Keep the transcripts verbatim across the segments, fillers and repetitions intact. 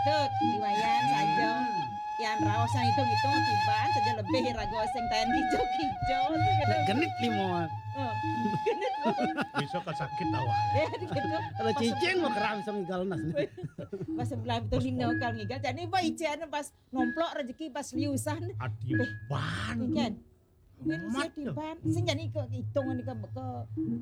Tut, liwayan saja. Yan raos yang hitung-hitung tiban saja lebih raga sing tayan kijo-kijo. Genit limo. Oh, genit. Bisa kan sakit awak. Ya gitu. Kalau cicing mau keram sama ngigal nas. Pas sebelah itu dino kal ngigal. Jadi apa ijen pas nomplok rezeki pas liusan. Atiban. Kan. Win sing tiban, sing jani ke hitung ni ke ke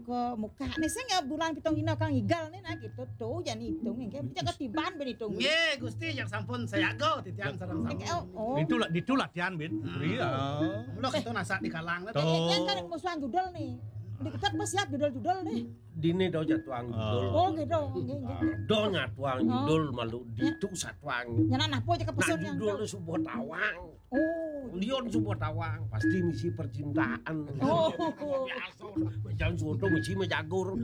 ke muka ni sing ya bulan pitung dino kang igal ni nah gitu tuh jani hitung ni kan jangan tiban ben hitung. Nggih, Gusti yang sampun sayaga titiang sareng sami. Oh, oh. Itulah itulah tian bin. Iya. Mula kita nasak di kalang. Tuh. Yang kan musuhan judul ni. Di kita pas siap judul-judul ni. Dini do jatuang judul. Oh gitu. Nggih, nggih. Do nyatuang judul malu ditu satuang. Nyana napa aja ke Nah pesun yang judul subuh tawang. Oh. Lion subuh tawang pasti misi percintaan. Oh. Biasa. Jangan suatu misi mejagur.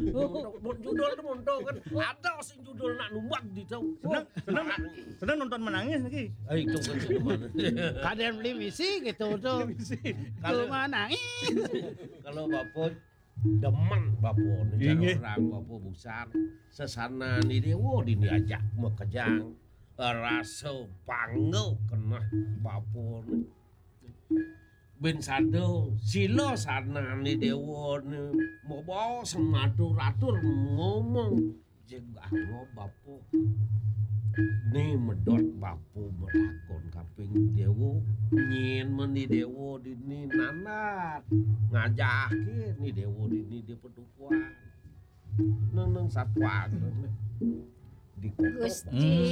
Judul tu monto kan. Ada sing judul nak numbak di tu. Senang senang senang nonton menangis lagi. Eh, itu kan. Kadang beli misi gitu tuh. Kalau menangis. Kalau bapak demen bapak ni Inggih. Orang bapak besar sesana ni dewa dini ajak mekejang rasa bangga kena bapak ni. Ben sada sila sana ni dewa ni mau bawa sematur atur ngomong jegah ngo bapak ni medot bapak melakon kaping dewa nyin meni dewa dini nandat ngajake ni dewa dini dia pedukuan neng neng satuan di kota Gusti.